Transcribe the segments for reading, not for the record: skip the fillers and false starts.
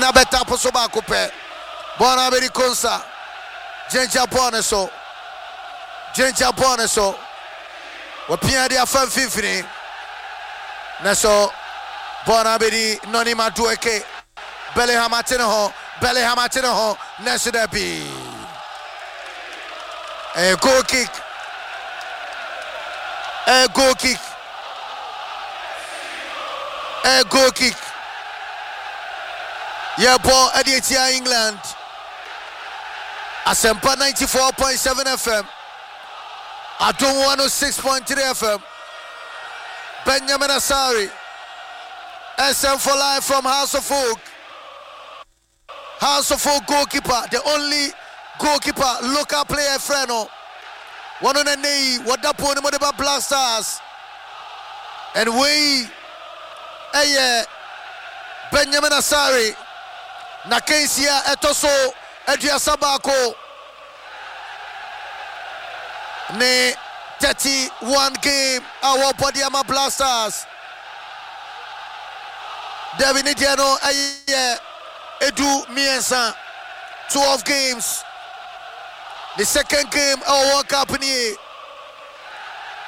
Na bɛtapo so baako pɛ. Bɔɔl no abɛdi Konsa. Gyinagyina bɔɔl no so. Gyinagyina bɔɔl no so. Wɔpia de afa mfimfini. Na so bɔɔl no abɛdi Noni Madueke. Bellingham ate ne ho. Bellingham ate ne ho. Nanso dabi. Ɛyɛ goal kick. Ɛyɛ goal kick. Ɛyɛ goal kick. Yɛbɔ ɛde atia England. Asɛmpa 94.7 FM. Adom 106.3 FM. Benjamin Asare. SM for life from House of Folk. House of Folk goalkeeper, the only goalkeeper local player frɛ no. Wɔn na nnɛ yi wɔda pon no mu de ba Black Stars. And wei ɛyɛ Benjamin Asare na kansi a ɛtɔ so 31 ne 31 game a wɔbɔ de ama Black Stars. Dabi ne deɛ no ɛyɛ 13, 12 games. The second game ɛwɔ World Cup nie.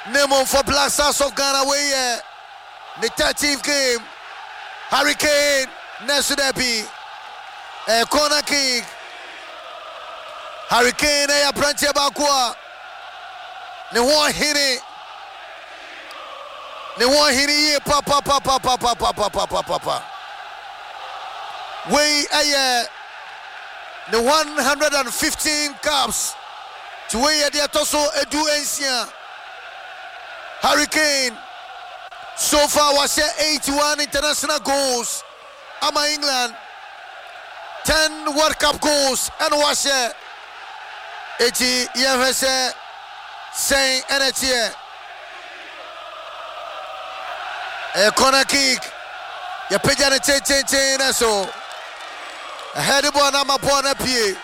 Ne mmom for Black Stars of Ghana wei yɛ ne 13th game. Harry Kane nɛso dabi. Ɛyɛ corner kick. Harry Kane ɛyɛ aberanteɛ baako a ne ho ɔhene. Ne ho ɔhene yie papapapapapapapapapa. Wei ɛyɛ ne 115 caps. Nti wei yɛ deɛ ɛtɔ so 16. Harry Kane so far wahyɛ 81 international goals ama England. 10 World Cup goals ɛna wahyɛ. Eti yɛhwɛ sɛ sɛn ɛna ɛteɛ. Ɛyɛ corner kick. Yɛpagya no tententen na so. Ɛhɛde bɔɔl no ama bɔɔl no apue.